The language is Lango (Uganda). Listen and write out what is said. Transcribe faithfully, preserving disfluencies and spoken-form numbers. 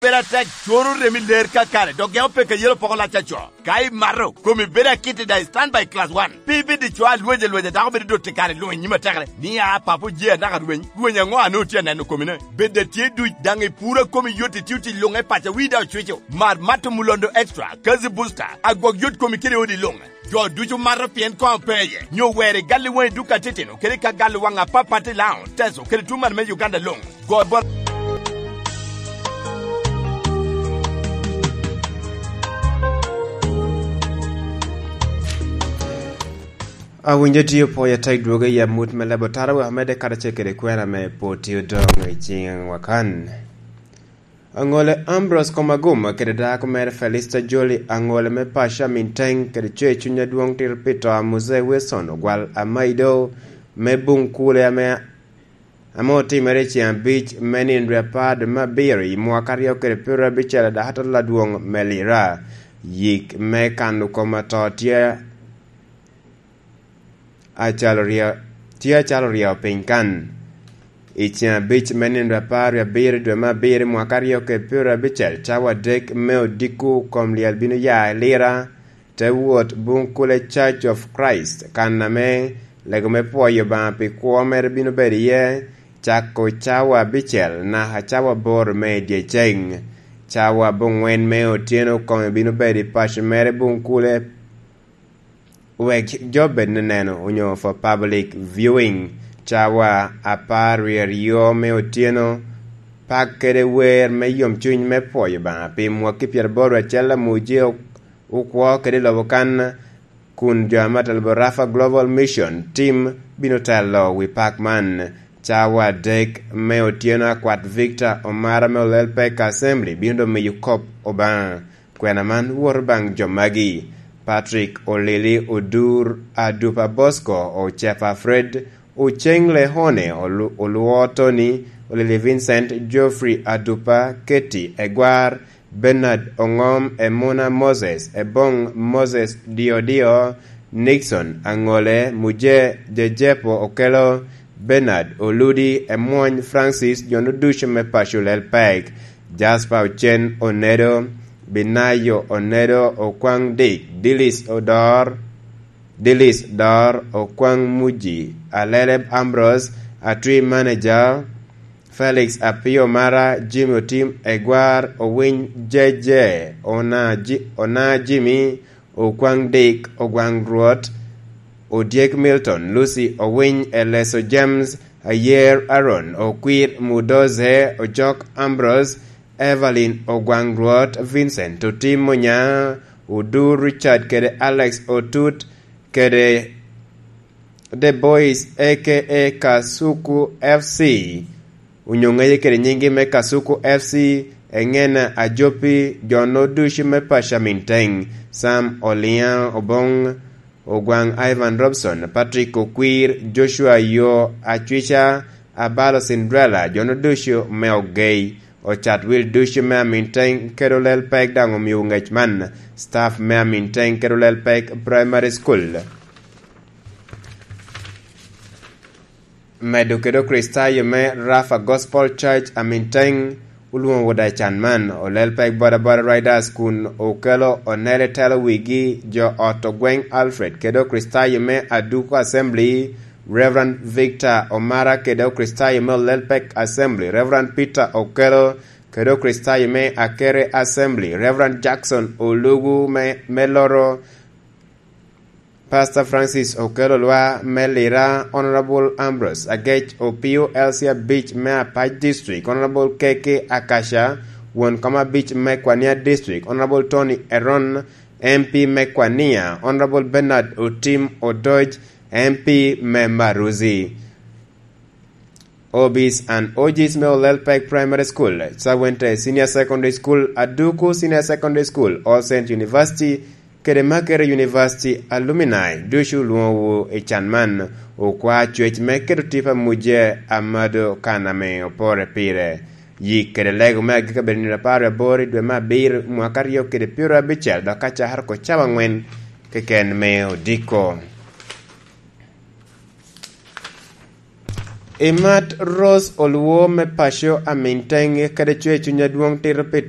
Pera tek, coro remi ler kakare, dok geo peke yelo poko lac aco. Ka imato, komi bedo akit i daŋ stand by class one. Pe ibed i co alweny alweny, dako bedo dot i kare luŋ i nyim atekere. Ni a papo je anaka rweny, rweny aŋo ane otye aneno komine? Bed a tye duc, daŋ i puro a komi yot, itio tic luŋ i paca, wi daŋ ocwico. Mar mato Mulondo Extra, Kazi Booster, agwok yot komi kede odi luŋ. Jo ducu mato pien koŋ pe iye, nyo wer i gal i waŋ i duka titino, kede ka gal i waŋ apapat i Laon, Teso, kede tuŋ man me Uganda luŋ. Go bot Awinjo tye opwoyo atek dwogo i amut me lebo tara wek amedde karacel kede kwena me pwod tye odoŋ i ciŋ wakan. Aŋole Ambrose Komaguma kede dako mere Felista Joli, aŋole me paco Aminteng kede co i cuny adwoŋ tito pi to a Muzee Wilson Ogwal Amaido me Buŋkule ame, ame otimere i ceŋ abic me nino dwe apar dwe me abiro i mwaka aryo kede pyeraryo abicel a dakatal adwoŋ me Lira. Yik me kano kom ato tye acalo rye-, tye acalo ryeo piny kan. I ceŋ abic me nino apar wie abiro i dwe me abiro i mwaka aryo kede pyeraryo abicel, cawa adek me odiko kom lyel bino ya i Lira, te wot Buŋkule Church of Christ, kan ame lego me pwoyo Obaŋa pi kwo mere bino bedo iye, cako cawa abicel naka cawa aboro me dyeceŋ. Cawa aboŋwen me otyeno kome bino bedo i paco mere Buŋkule, wek jo bed neneno onyo for public viewing. Cawa apar wie aryo me otyeno, pak kede wer me yomcuny me pwoyo Obaŋa pi mwaki pyeraboro acel a Muje ok-, okwo kede lobo kan, kun jo ame atelo bot Rafa Global Mission Team bino telo wi pak man. Cawa adek me otyeno, akwat Victor Omara me Olel Pek Assembly bino doŋ miyo kop Obaŋa. Kwena man woto baŋ jo magi: Patrick Olili Odur, Adupa Bosco, Ocepa Fred, Oceng Lehone, Olu-, Oluo Tony, Olili Vincent, Geoffrey Adupa, Ketty Egwar, Bernard Oŋom, Emuna Moses, Eboŋ Moses Diodio, Nixon Aŋole, Muje Jejepo Okelo, Bernard Oludi, Emwony Francis, jo-nu ducu me paco Lel Pek, Jasper Ocen Onedo, Binayo Onedo, Okwaŋ Dik, Dilis Odor, Dilis Dor, Okwaŋ Muji, Alele Ambrose, Atwi Manager, Felix Apio Mara, Jimmy Otim Egwar, Owiny Jeje, Ona Ji-, Ona Jimmy, Okwaŋ Dik, Ogwaŋ Rwot, Odyek Milton, Lucy Owiny, Eleso James, Ayer Aaron, Okwir Mudoze, Ojok Ambrose, Evelyn Ogwaŋ Rwot, Vincent Otim Munya, Odur Richard kede Alex Otut, kede The Boys, A K A Kasuku F C, onyo ŋeye kede nyinggi me Kasuku F C, Eŋena Ajopi, jo-nu ducu me paco Aminteng, Sam Oliaŋ Oboŋ, Ogwaŋ Ivan Robson, Patrick Okwir, Joshua Yo Acwica, Abalo Cinderella, jo-nu ducu me Ogei, Ocat Wil ducu me Aminteng kede Olel Pek daŋ omio ŋec man, staff me Aminteng kede Olel Pek Primary School. Medo kede Okricitayo me Rafa Gospel Church Aminteng olwoŋo woda i can man, Olel Pek Bodaboda Riders kun okelo Onele telo wigi, jo ot Ogweng Alfred kede Okricitayo me Aduko Assembly, Reverend Victor Omara kede Okricitayo me Olel Pek Assembly, Reverend Peter Okelo kede Okricitayo me Akere Assembly, Reverend Jackson Olugu me, me Loro, Pastor Francis Okello Lwa me Lira, Honorable Ambrose Agec Opio, L C Abic me Apac District, Honorable K K Akasha, won kom abic me Kwania District, Honorable Tony Eron, M P me Kwania, Honorable Bernard Otim Odoj, M P me Maruzi. Obis and Ojis me Olel Pek Primary School, Sawente Senior Secondary School, Aduku Senior Secondary School, All Saint University, kede Makerere University alumni ducu olwoŋowu i can man, okwa cwec me keto tipo amuje amado kan ame opore pire. Yik kede lego me agikki obedo nino apar wie aboro i dwe me abiro mwaka aryo kede pyeraryo abicel, dok ka cakere oko cawa angwen keken me odiko. Imat Rose Olwo me paco Aminteng kede cwer cuny adwoŋ tito pi to